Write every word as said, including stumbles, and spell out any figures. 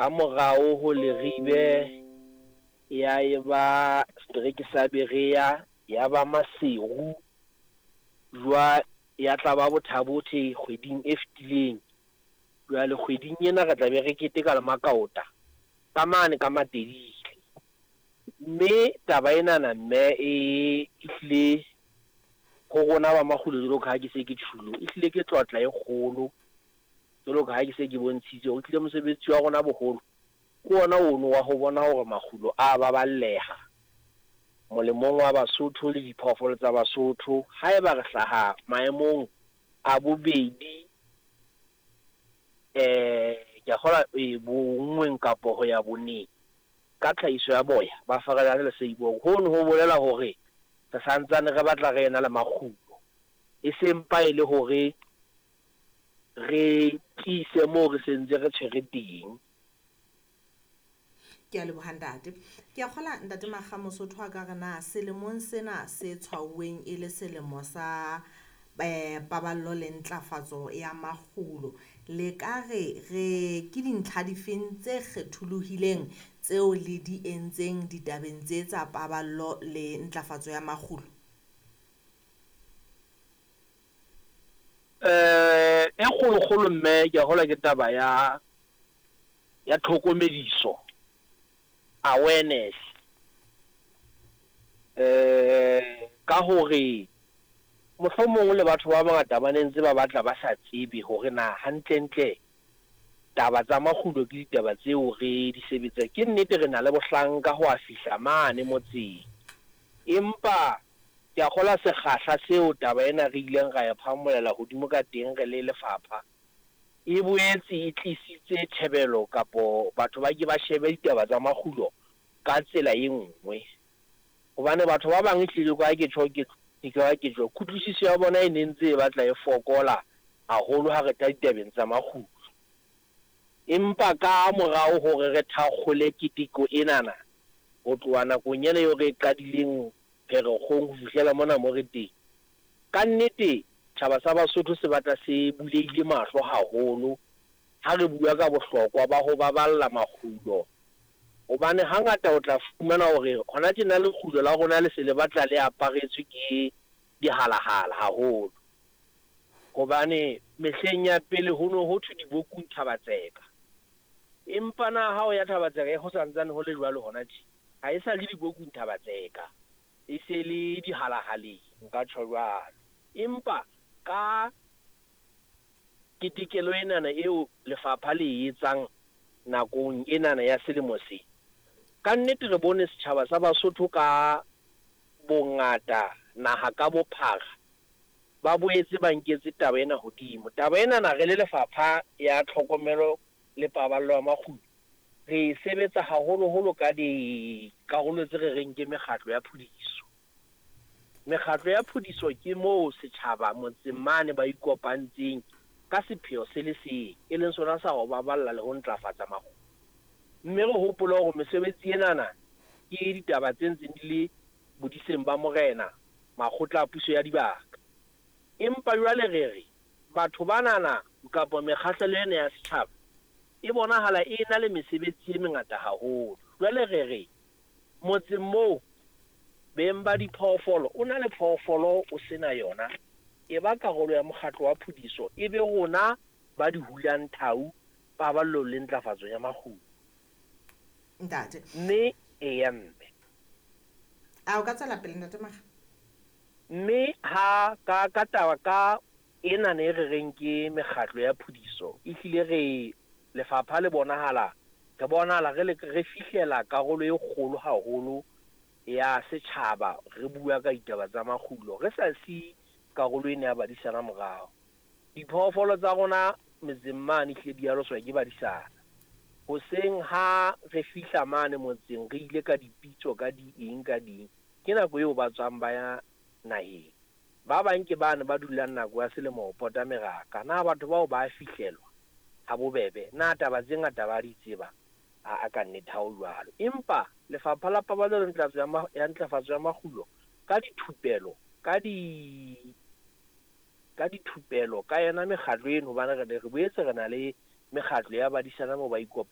Ka morao ho Leribe ya eba setereke sa Berea, ya ba Maseru, jwa ya tla ba Botha-Bothe kgweding e fetileng. Jwale kgweding ena re tla be re keteka le Makaota ka mane ka Matedile. Mme taba enana mme e ehlile ho rona ba makgulo jwalo ka ha ke se ke tjhulo, ehlile ke tlotla e kgolo jwalo ka ha ke se ke bontshitse hore ehlile mosebetsi wa rona boholo ke ona ono wa ho bona hore makgulo a baballeha molemong wa Basotho le diphoofolo tsa Basotho. Haeba re hlaha maemong a bobedi, eh ke a kgolwa e bonngweng kapo ho ya boneng ka tlhahiso ya boya ba Faredane le Seiboko, hono ho bolela hore re santsane re batla re ena le makgulo, e seng pa e le hore re tiise moo re sentse re tshwere teng. Ke a leboha ntate. Ke a kgola ntate Makga Mosotho a ka re na selemong sena se tshwauweng e le selemo sa eh paballo le ntlafatso ya makgulo, le ka re re ke dintlha difeng tse kgetholohileng tseo le di entseng ditabeng tse tsa paballo le ntlafatso ya makgulo? Eh e kgolokgolo mme ke a kgolwa ke taba ya ya tlhokomediso, awareness. Eh ka hore mohlomong le batho ba bangata ba ne ntse ba batla ba sa tsebe hore na hantlentle taba tsa makgulo ke ditaba tseo re di sebetsang. Ke nnete re na le bohlanka ho a fihla mane motseng, empa ke a kgolwa sekgahla seo taba ena re ileng ra e phamolela hodimo ka teng re le lefapha, e boetse e tlisitse tjhebelo kapo batho ba ke ba shebe ditaba tsa makgulo ka tsela e nngwe. Hobane batho ba bang ehlile ka ke tjho ke ke ka ke tjho, kutlwisiso ya bona e ne ntse e batla e fokola haholo ha re tla ditabeng tsa makgulo. Empa ka morao hore re thakgole keteko enana ho tloha nakong ena eo re e qadileng Pherekgong ho fihlela mona mo re teng, ka nnete tjhaba sa Basotho se batla se bulehile mahlo haholo ha re bua ka bohlokwa ba ho baballa makgulo. Hobane hangata o tla fumana hore hona tjena lekgulo la rona le se le batla le aparetswe ke dihalahala haholo. Hobane mehleng ya pele ho no ho thwe dibokung Thaba-Tseka, empa na ha o ya Thaba-Tseka ho santsane ho le jwalo hona tje, ha e sa le dibokung Thaba-Tseka, e se le dihalahaleng, nka tjho jwalo. Empa ka ketekelo enana eo lefapha le e etsang nakong enana ya selemo se, ka nnete re bone setjhaba sa Basotho ka bongata naha ka bophara ba boetse ba nketse taba ena hodimo. Taba enana re le lefapha ya tlhokomelo le paballo ya makgulo re e sebetsa haholoholo ka dikarolo tse re reng ke mekgatlo ya phudiso. Mekgatlo ya phudiso ke moo setjhaba motseng mane ba ikopantseng ka sepheo se le seng, e leng sona sa ho baballa le ho ntlafatsa makgulo. Mme re hopole hore mesebetsi enana ke ditaba tse ntseng di le bodiseng ba morena, makgotla a puso ya dibaka. Empa jwale re re batho banana kapa mekgahlelo ena ya setjhaba e bonahala e na le mesebetsi e mengata haholo. Jwale re re motseng moo beng ba diphoofolo, o na le phoofolo o sena yona, e ba karolo ya mokgatlo wa phudiso, e be rona ba di hulang thau paballong le ntlafatso ya makgulo. Ntate. Mme eya mme. A o ka tswela pele ntate Makga? Mme ha ka ka taba ka ena ne re reng ke mekgatlo ya phudiso, ehlile re lefapha le bonahala re bonahala re le re fihlela karolo e kgolo haholo ya setjhaba re bua ka ditaba tsa makgulo, re sa si karolo ena ya badisana morao. Diphoofolo tsa rona metseng mane ehlile di aloswa ke badisana. Hoseng ha re fihla mane motseng re ile ka dipitso ka di eng ka di eng, ke nako eo ba tswang ba ya naheng. Ba bang ke bane ba dulang nako ya selemo ho pota meraka. Na batho bao ba fihlelwa ha bobebe? Na taba tse ngata ba di tseba? A ka nnete ha ho jwalo. Empa lefapha la paballo le ntlafatso ya ma-, ya ntlafatso ya makgulo ka dithupelo, ka di, ka dithupelo ka yona mekgatlo eno, hobane re, re boetse re na le mekgatlo ya badisana moo ba ikopang.